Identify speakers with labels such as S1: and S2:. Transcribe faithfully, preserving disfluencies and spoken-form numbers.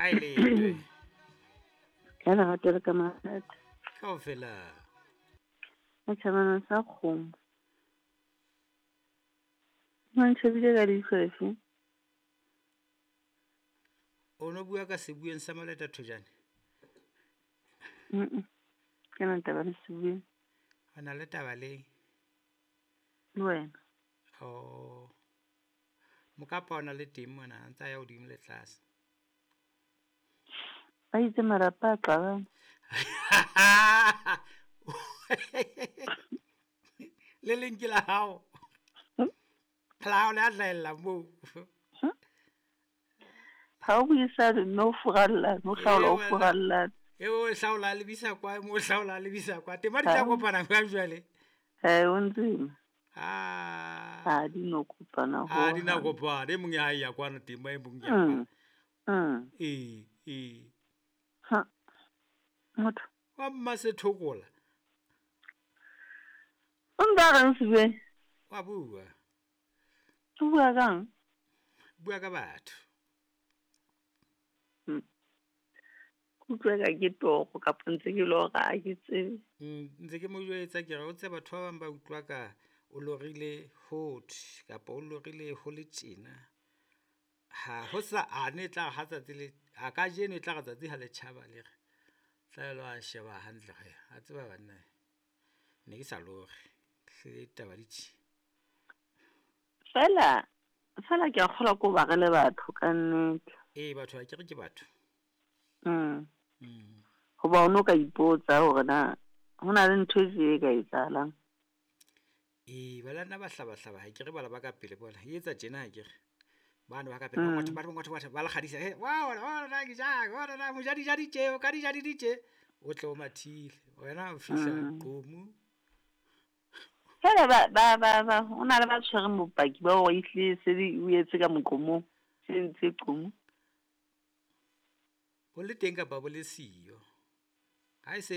S1: Ha e letwe.
S2: Ka lerato le ka mathata.
S1: Kaofela.
S2: Ka tjhabana sa kgomo. O ntjhebile ka leihlo lefe?
S1: O no bua ka sebueng sa Maleta Thojane?
S2: Mm. Ke na taba le sebueng.
S1: O na le taba le?
S2: Le wena.
S1: Oh. Mokapa o na le teng mona, a ntsa ya hodimo le tlase.
S2: Ba itse malapa a qabane.
S1: Le leng ke la hao. La hao le a hlahella moo.
S2: Ha o buisane mme o furalla, o hlaola o furalla.
S1: E o hlaola lebisa kwa, mo hlaola lebisa kwa. Tema di tla kopana jwang jwale?
S2: Eh, o ntsima.
S1: Ah.
S2: Ha di no kopana ho.
S1: Ha di na kopana, e mong ya ya kwana tema e mong ya kwana.
S2: Mm.
S1: E e.
S2: Ha. Motho.
S1: Wa mmasethokola.
S2: O nka reng Sebueng?
S1: Wa bua.
S2: O bua kang?
S1: Bua ka batho.
S2: Mm. Kutlwa ka ke toro kapa ntse ke lora ha ke tsebe.
S1: Mm, ntse ke mo jwetsa ke re o tse batho ba bang ba utlwa ka o lorile hot kapa o lorile ho le tjena. Ha ho sa a ne tla ha tsatsi le a ka jeno e tla re tsatsi ha le tjhaba le re. Tla lo a sheba hantle re. A tseba banna. Ne ke sa lore. Hle taba di tjhe.
S2: Fela fela ke a kgolwa ko ba re le batho ka nnete.
S1: Eh batho ha ke re ke batho.
S2: Mm.
S1: Mm.
S2: Hoba o no ka ipotsa hore na ho na le ntho e tje e ka etsahalang.
S1: Eh ba lana ba hlaba hlaba ha ke re bala ba ka pele bona. E etsa tjena ha ke re. Bana ba ka pele ba ngwatha ba ngwatha ba ba le kgadisa. He wa wa na ke ja, wa na mo ja di ja di tje, o ka di ja di di tje. O tle o mathile. Wena o fihla qomu.
S2: Fela ba ba ba ba o na le ba tshwereng bopaki ba hore ehlile se di o etse ka moqomong. Se ntse qomu.
S1: Bo le teng kapa bo le siyo. Ha e se